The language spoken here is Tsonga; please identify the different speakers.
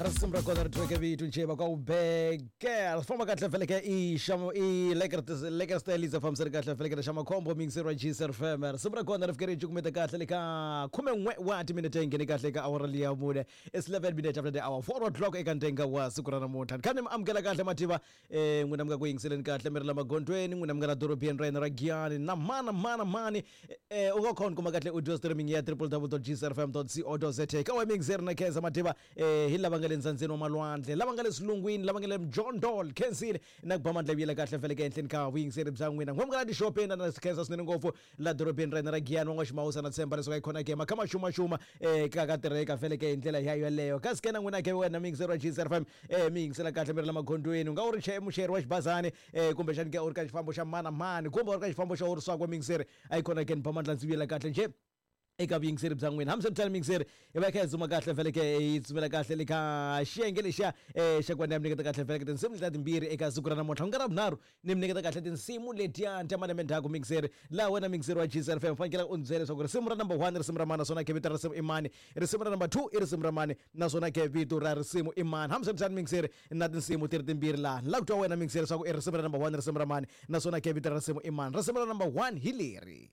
Speaker 1: Risimu ra kona ri thyiweke vito njhe va ka ubeke ri famba kahle feleke i xamo i leker style fambisa ri kahle feleke xa makhombo mixer wa GSR FM. Risimu ra kona ri fike ri cukumeta kahle le ka 11 wa timinete yi nghene kahle ka awara liya mune. It's 11 minutes after the hour 4 o'clock eka ntenga wa siku ra namuntlha. Ni kha ni mi amukela kahle mativa n'wina mi nga ku yingiseleni kahle mi ri la magondzweni, n'wina mi nga la dorobeni ra hina ra Giyani na mana mana mani u nga khona kuma kahle audio streaming ya www.gsrfm.co.za ka wa mixer na khensa mativa hi lava nga le ndzandzeni wa malwandle, lava nga le swilungwini, lava nga le mjondol khensile na ku ba mandla vuyela kahle feleke ehenhleni ka vuyingiseri bya n'wina. N'we mi nga la tixopeni na khensa swinene ngopfu la dorobeni ra hina ra Giyani wa n'waximawusa na tshemba leswaku yi khona ke makha ma xuma ka ka tirheka feleke hi ndlela ya yoleyo. Kasi ke na n'wina ke wena muyingiseri wa GSRFM mi yingisela kahle mi ri la magondzweni, u nga u ri muchayeri wa xibazani kumbexani ke u ri ka xifambo xa mani na mani kumbe u ri ka xifambo xa u ri swakwe muyingiseri a yi khona ke ni ba mandla ndzi vuyela kahle njhe eka vuyingiseri bya n'wina. Hambiswiritano muyingiseri hi va hi kha hi dzuma kahle feleke hi dzumela kahle le ka xiyenge lexiya xa ku va ni ya mi nyiketa kahle feleke tinsimu letiya timbirhi eka siku ra namuntlha ku nga ra vunharhu ni mi nyiketa kahle tinsimu letiya ta malembe ndzhaku muyingiseri. Laha wena muyingiseri wa GCR FM fanekele u ndzi byela leswaku risimu ra number 1 risimu ra mani naswona ke vito ra risimu i mani, risimu ra number 2 i risimu ra mani naswona ke vito ra risimu i mani. Hambiswiritano muyingiseri na tinsimu ti ri timbirhi laha ni lava ku twa wena muyingiseri leswaku i risimu ra number 1 risimu ra mani naswona ke vito ra risimu i mani. Risimu ra number 1 hi leri.